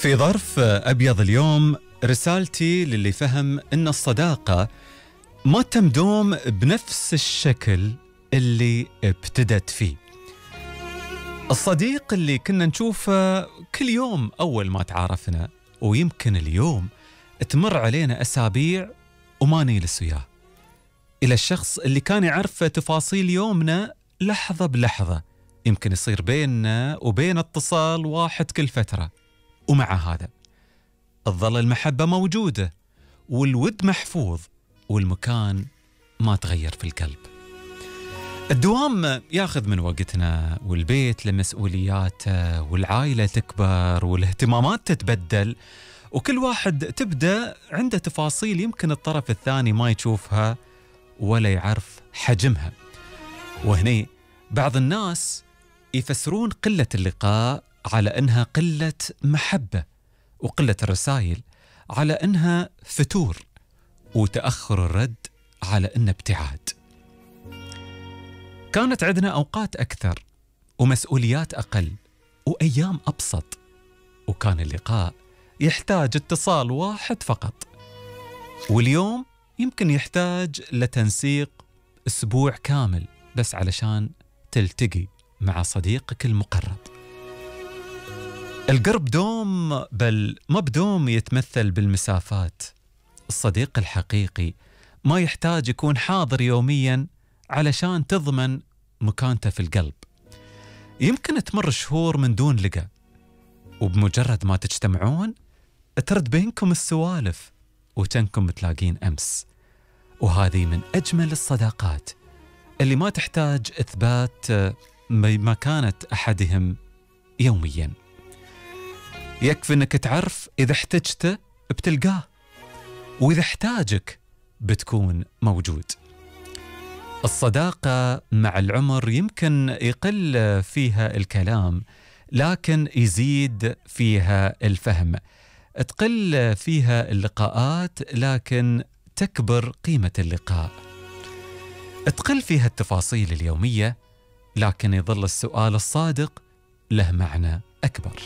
في ظرف أبيض اليوم رسالتي للي فهم إن الصداقة ما تمدوم بنفس الشكل اللي ابتدت فيه. الصديق اللي كنا نشوفه كل يوم أول ما تعارفنا، ويمكن اليوم تمر علينا أسابيع وما نجلس وياه، إلى الشخص اللي كان يعرف تفاصيل يومنا لحظة بلحظة، يمكن يصير بيننا وبين اتصال واحد كل فترة، ومع هذا تظل المحبة موجودة والود محفوظ والمكان ما تغير في القلب. الدوام ياخذ من وقتنا، والبيت لمسؤولياته، والعائلة تكبر، والاهتمامات تتبدل، وكل واحد تبدأ عنده تفاصيل يمكن الطرف الثاني ما يشوفها ولا يعرف حجمها. وهني بعض الناس يفسرون قلة اللقاء على أنها قلة محبة، وقلة الرسائل على أنها فتور، وتأخر الرد على أنه ابتعاد. كانت عندنا أوقات أكثر ومسؤوليات أقل وأيام أبسط، وكان اللقاء يحتاج اتصال واحد فقط، واليوم يمكن يحتاج لتنسيق أسبوع كامل بس علشان تلتقي مع صديقك المقرب. القرب دوم، بل ما بدوم يتمثل بالمسافات. الصديق الحقيقي ما يحتاج يكون حاضر يوميا علشان تضمن مكانته في القلب. يمكن تمر شهور من دون لقاء، وبمجرد ما تجتمعون ترد بينكم السوالف وتنكم متلاقين أمس. وهذه من أجمل الصداقات اللي ما تحتاج إثبات مكانة أحدهم يوميا. يكفي أنك تعرف إذا احتجته بتلقاه، وإذا احتاجك بتكون موجود. الصداقة مع العمر يمكن يقل فيها الكلام، لكن يزيد فيها الفهم. تقل فيها اللقاءات، لكن تكبر قيمة اللقاء. تقل فيها التفاصيل اليومية، لكن يظل السؤال الصادق له معنى أكبر.